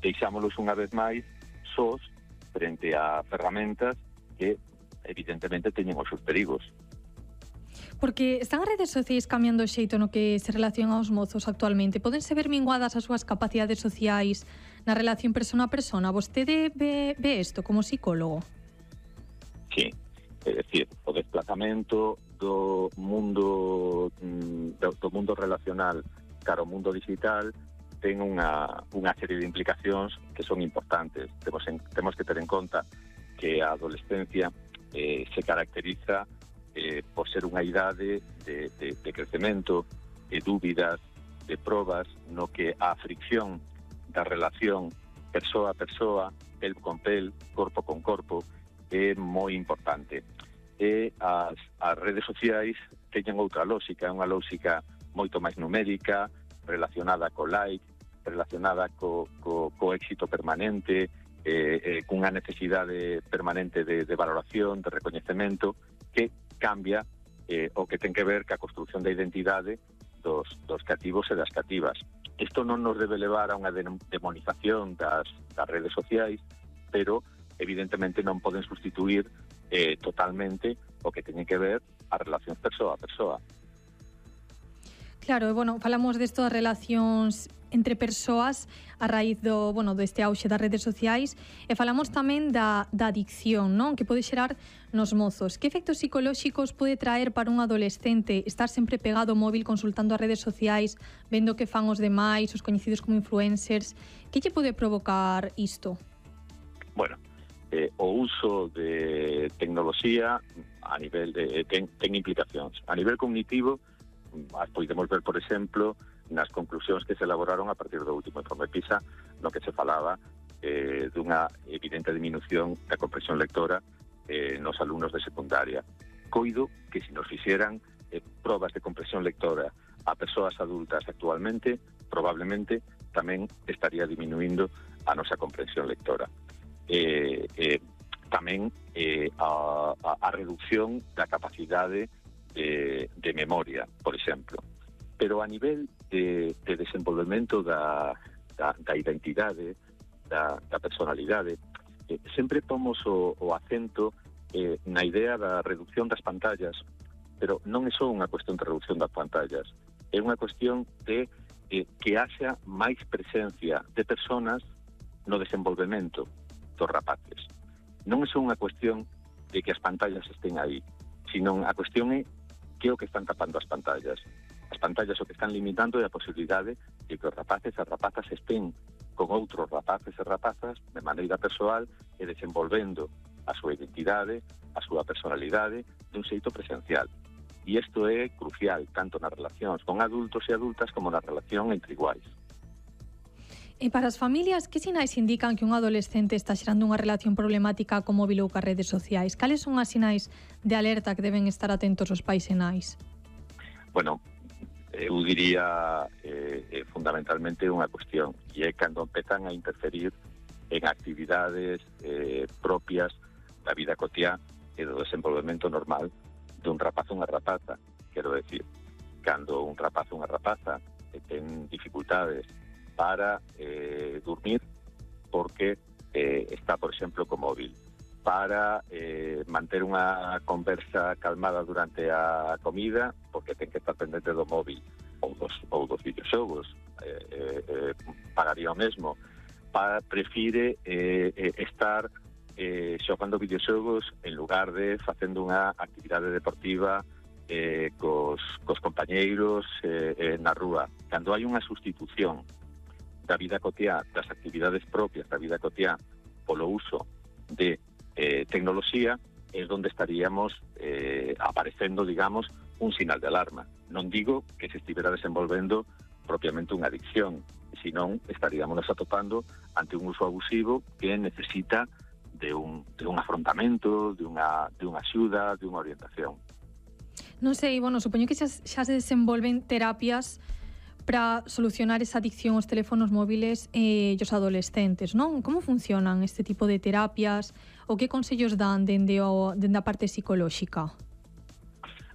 deixámolos unha vez máis sós frente a ferramentas que evidentemente teñen os seus perigos. Porque están as redes sociais cambiando o xeito no que se relacionan os mozos actualmente? Podense ver minguadas as súas capacidades sociais na relación persona a persona? Vostede ve isto como psicólogo? Sí, é dicir, o desplazamento do mundo relacional cara ao mundo digital ten unha serie de implicacións que son importantes. Temos que ter en conta que a adolescencia se caracteriza por ser unha idade de crecemento, de dúbidas, de probas, no que a fricción da relación persoa a persoa, pel con pel, corpo con corpo, é moi importante. E as redes sociais teñen outra lógica, unha lógica moito máis numérica, relacionada co like, relacionada co éxito permanente, cunha necesidade permanente de valoración, de recoñecemento, que cambia o que ten que ver ca construción da identidade dos cativos e das cativas. Isto non nos debe levar a unha demonización das redes sociais, pero evidentemente non poden sustituir totalmente o que teñen que ver as relacións persoa a persoa. Claro, bueno, falamos desto das relacións entre persoas a raíz deste auxe das redes sociais e falamos tamén da adicción, non? Que pode xerar nos mozos. Que efectos psicolóxicos pode traer para un adolescente estar sempre pegado ao móvil consultando as redes sociais, vendo que fan os demais, os coñecidos como influencers? Que lle pode provocar isto? Bueno, o uso de tecnoloxía a nivel ten implicacións. A nivel cognitivo, podemos ver, por exemplo, nas conclusións que se elaboraron a partir do último informe PISA, no que se falaba dunha evidente diminución da comprensión lectora nos alumnos de secundaria. Coido que se nos fixeran probas de comprensión lectora a persoas adultas actualmente, probablemente tamén estaría diminuindo a nosa comprensión lectora. Tamén a reducción da capacidade de memoria, por exemplo. Pero a nivel de desenvolvemento da identidade, da personalidade, sempre pomos o acento na idea da reducción das pantallas, pero non é só unha cuestión de reducción das pantallas, é unha cuestión de que haxa máis presencia de personas no desenvolvemento dos rapaces. Non é só unha cuestión de que as pantallas estén aí, sino a cuestión é que é o que están tapando as pantallas. As pantallas o que están limitando é a posibilidade de que os rapaces e as rapazas estén con outros rapaces e rapazas de maneira persoal e desenvolvendo a súa identidade, a súa personalidade dun xeito presencial. E isto é crucial tanto nas relacións con adultos e adultas como na relación entre iguais. E para as familias, que sinais indican que un adolescente está xerando unha relación problemática co móvil ou cas redes sociais? Cales son as sinais de alerta que deben estar atentos os pais e nais? Bueno, eu diría fundamentalmente unha cuestión, e é cando empezan a interferir en actividades propias da vida cotiá e do desenvolvemento normal dun rapaz ou unha rapaza. Quero decir, cando un rapaz ou unha rapaza ten dificultades para dormir porque está, por exemplo, co móvil, para manter unha conversa calmada durante a comida porque ten que estar pendente do móvil ou dos videoxogos, pagaría o mesmo, prefire estar xogando videoxogos en lugar de facendo unha actividade deportiva cos compañeiros na rúa. Cando hai unha sustitución da vida cotiá, das actividades propias da vida cotiá polo uso de tecnoloxía, é onde estaríamos aparecendo, digamos, un sinal de alarma. Non digo que se estivera desenvolvendo propiamente unha adicción, senón estaríamos atopando ante un uso abusivo que necesita de un afrontamento, de unha axuda, de unha orientación. Non sei, supoño que xa se desenvolven terapias para solucionar esa adicción aos teléfonos móviles e os adolescentes, non? Como funcionan este tipo de terapias? O que consellos dan dende a parte psicolóxica?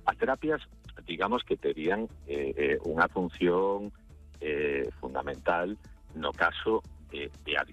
As terapias, digamos que terían unha función fundamental no caso de adicción.